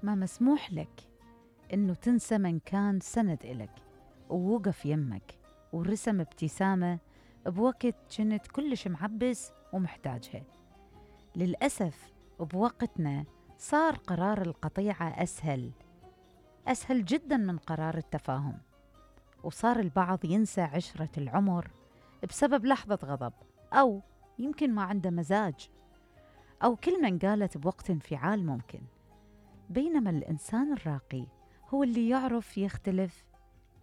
ما مسموح لك إنه تنسى من كان سند إلك ووقف يمك ورسم ابتسامة بوقت كنت كلش معبس ومحتاجها. للأسف بوقتنا صار قرار القطيعة أسهل جدا من قرار التفاهم، وصار البعض ينسى عشرة العمر بسبب لحظة غضب، أو يمكن ما عنده مزاج، أو كلمة انقالت بوقت انفعال ممكن. بينما الإنسان الراقي هو اللي يعرف يختلف،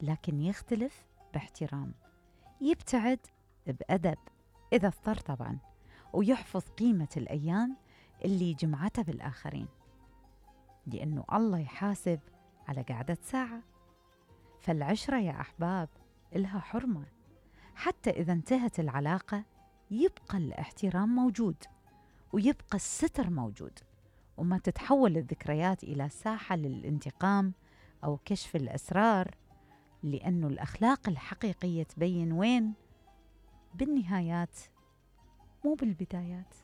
لكن يختلف باحترام، يبتعد بأدب إذا اضطر طبعا، ويحفظ قيمة الأيام اللي جمعتها بالآخرين، لأنه الله يحاسب على قعدة ساعة. فالعشرة يا أحباب إلها حرمة، حتى إذا انتهت العلاقة يبقى الاحترام موجود، ويبقى الستر موجود، وما تتحول الذكريات إلى ساحة للانتقام أو كشف الأسرار، لأنه الأخلاق الحقيقية تبين وين؟ بالنهايات مو بالبدايات.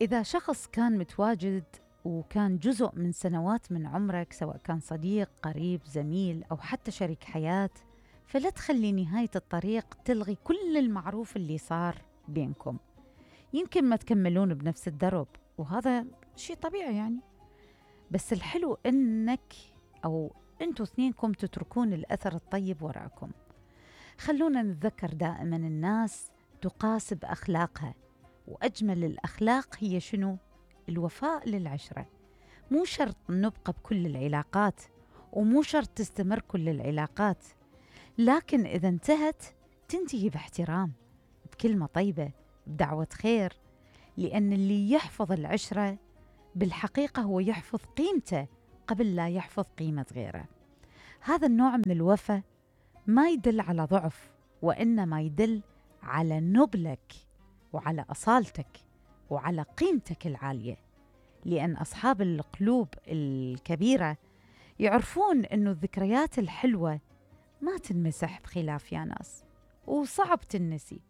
إذا شخص كان متواجد وكان جزء من سنوات من عمرك، سواء كان صديق، قريب، زميل، أو حتى شريك حياة، فلا تخلي نهاية الطريق تلغي كل المعروف اللي صار بينكم. يمكن ما تكملون بنفس الدرب، وهذا شيء طبيعي يعني، بس الحلو إنك أو أنتوا اثنينكم تتركون الأثر الطيب وراءكم. خلونا نتذكر دائما الناس تقاس بأخلاقها، وأجمل الأخلاق هي شنو؟ الوفاء للعشرة. مو شرط نبقى بكل العلاقات، ومو شرط تستمر كل العلاقات، لكن إذا انتهت تنتهي باحترام، بكلمة طيبة، بدعوة خير، لأن اللي يحفظ العشرة بالحقيقة هو يحفظ قيمته قبل لا يحفظ قيمة غيره. هذا النوع من الوفاء ما يدل على ضعف، وإنما يدل على نبلك وعلى أصالتك وعلى قيمتك العالية، لأن أصحاب القلوب الكبيرة يعرفون أنه الذكريات الحلوة ما تنمسح بخلاف يا ناس، وصعب تنسي،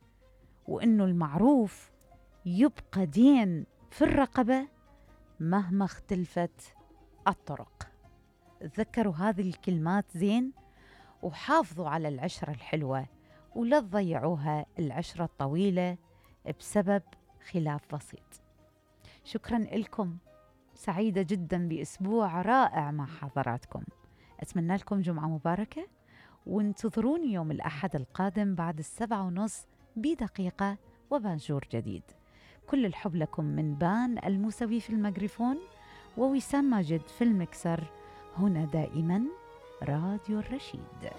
وأنه المعروف يبقى دين في الرقبة مهما اختلفت الطرق. تذكروا هذه الكلمات زين، وحافظوا على العشرة الحلوة، ولا تضيعوها العشرة الطويلة بسبب خلاف بسيط. شكرا لكم، سعيدة جدا بأسبوع رائع مع حضراتكم. أتمنى لكم جمعة مباركة، وانتظروني يوم الأحد القادم بعد 7:30 بدقيقة وبانجور جديد. كل الحب لكم من بان الموسوي في الميكروفون، ووسام ماجد في المكسر. هنا دائما راديو الرشيد.